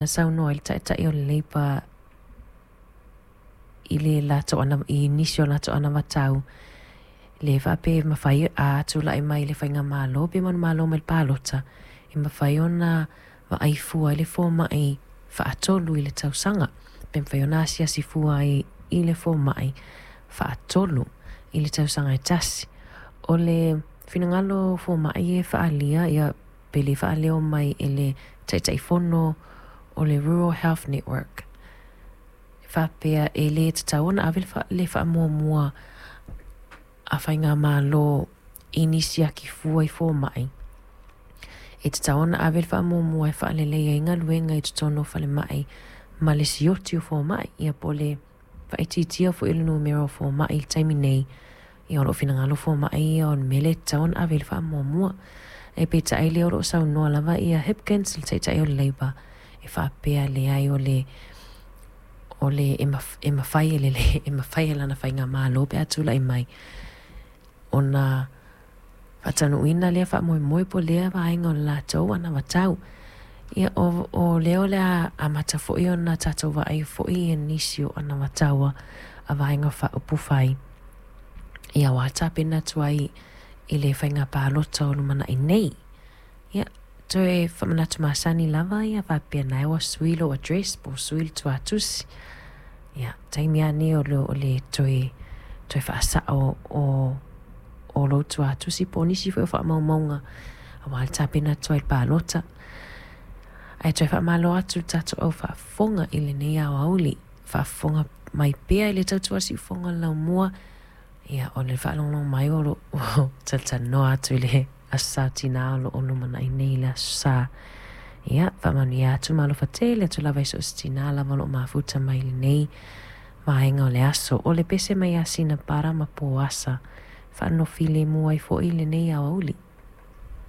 Na saunoa ai le Taitai o le Labour i le latou i nisi o latou anavatau le faapea e mafai a tulai mai le faigamalo pe manumalo mai le palota, e mafai ona vaai fua i le fomai faatolu i le tausaga. Pe mafai ona asiasi fua ai i le fomai faatolu i le tausaga e tasi. O le finagalo o fomai e faaalia, ia pe le faaleo mai e le Taitaifono o le Rural Health Network, e faapea e le tatau ona ave le faamuamua a faigamalo i ni siaki fua i fomai. E tatau ona ave le faamuamua e faaleleia ai galuega i totonu o falemai ma le sioti o fomai. Ia po o le faaitiitia foi o le numera o fomai i le taimi nei, ia o lo o finagalo fomai ia o le mea lea e tatau ona ave i ai le faamuamua. Ae peitai o lea o lo o saunoa lava ia Hipkins, le Taitai o le Labour, e faapea e leai o le e mafai e le e mafai e lana faigamalo pe a tulai mai ona faataunuuina lea faamoemoe po o lea vaega o le latou anavatau. Ia o lea o le a amata foi ona tatou vaai foi i nisi o anavatau a Vaega Faaupufai ia aua tapena atu ai i le faiga palota o lumanai nei. Ia, toe faamanatu masani lava ia faapea na ua sui lou address po o sui le tuatusi. Ia, taimi lava nei o le toe, toe faasao o, o lou tuatusi po o nisi foi o faamaumauga aua le tapena atu ai i le palota. Ae toe faamalo atu i le tatou au faafofoga i lenei aoauli. Faafofoga mai pea i le tautua siufofoga o le laumua. Ia, o le faalogologo mai o lo o talatalanoa atu i le Aso Sa o Tina o lo o lumanai nei le Aso Sa. Ia, faamanuia atu ma alofa tele atu lava i so o se tina lava o lo o mafuta mai i lenei vaega o le aso. O le pese mai ia Sinapara ma Poasa, faanonofilemu ai foi lenei aoauli.